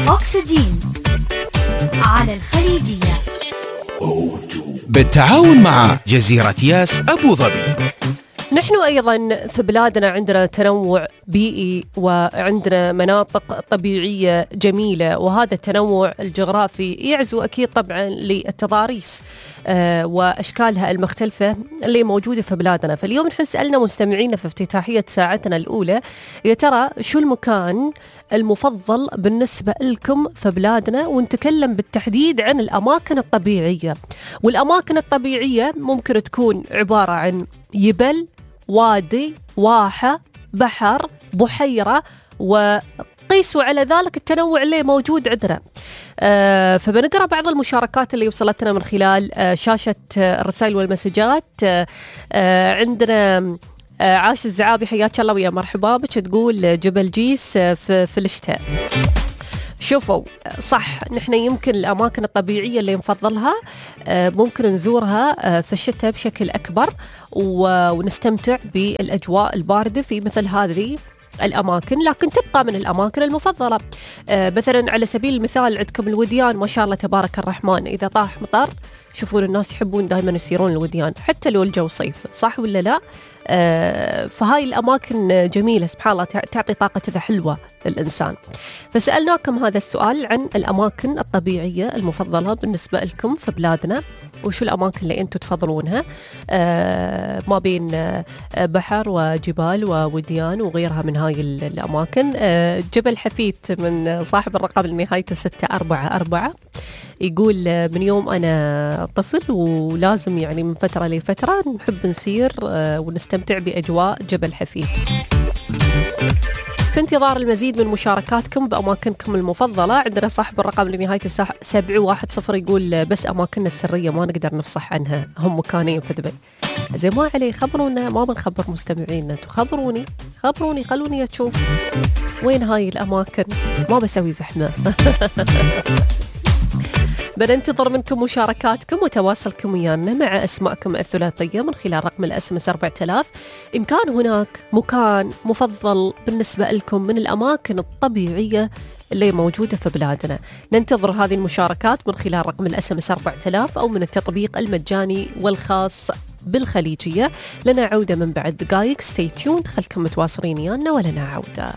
أكسجين على الخليجية بالتعاون مع جزيرة ياس أبو ظبي. نحن أيضا في بلادنا عندنا تنوع بيئي وعندنا مناطق طبيعية جميلة، وهذا التنوع الجغرافي يعزو أكيد طبعا للتضاريس وأشكالها المختلفة اللي موجودة في بلادنا. فاليوم نحن سألنا مستمعينا في افتتاحية ساعتنا الأولى، يا ترى شو المكان المفضل بالنسبة لكم في بلادنا، ونتكلم بالتحديد عن الأماكن الطبيعية. والأماكن الطبيعية ممكن تكون عبارة عن يبل، وادي، واحة، بحر، بحيرة، وقيسوا على ذلك التنوع اللي موجود عندنا. فبنقرأ بعض المشاركات اللي وصلتنا من خلال شاشة الرسائل والمسجات. عندنا عاش الزعابي، حياك الله ويا مرحبا بك، تقول جبل جيس في الشتاء. شوفوا صح، نحن يمكن الأماكن الطبيعية اللي نفضلها ممكن نزورها في الشتاء بشكل أكبر ونستمتع بالأجواء الباردة في مثل هذه الأماكن، لكن تبقى من الأماكن المفضلة. مثلا على سبيل المثال عندكم الوديان، ما شاء الله تبارك الرحمن، إذا طاح مطر شوفون الناس يحبون دائما يسيرون الوديان حتى لو الجو صيف، صح ولا لا؟ فهاي الأماكن جميلة سبحان الله، تعطي طاقة كذا حلوة للإنسان. فسألناكم هذا السؤال عن الأماكن الطبيعية المفضلة بالنسبة لكم في بلادنا، وشو الأماكن اللي أنتم تفضلونها ما بين بحر وجبال ووديان وغيرها من هاي الأماكن. جبل حفيت من صاحب الرقم اللي نهايته 644 يقول من يوم أنا طفل ولازم يعني من فترة لفترة نحب نسير ونستمتع بأجواء جبل حفيت. في انتظار المزيد من مشاركاتكم بأماكنكم المفضلة. عندنا صاحب الرقم اللي نهايته 710 يقول بس أماكننا السرية ما نقدر نفصح عنها، هم مكانين في دبي. زي ما عليه خبرونا، ما بنخبر مستمعينا، خبروني خلوني أشوف وين هاي الأماكن، ما بسوي زحمة. بننتظر منكم مشاركاتكم وتواصلكم ويانا مع أسماءكم الثلاثية من خلال رقم الSMS 4000. إن كان هناك مكان مفضل بالنسبة لكم من الأماكن الطبيعية اللي موجودة في بلادنا، ننتظر هذه المشاركات من خلال رقم الSMS 4000 أو من التطبيق المجاني والخاص بالخليجية. لنا عودة من بعد دقائق، stay tuned، خلكم متواصلين ويانا ولنا عودة.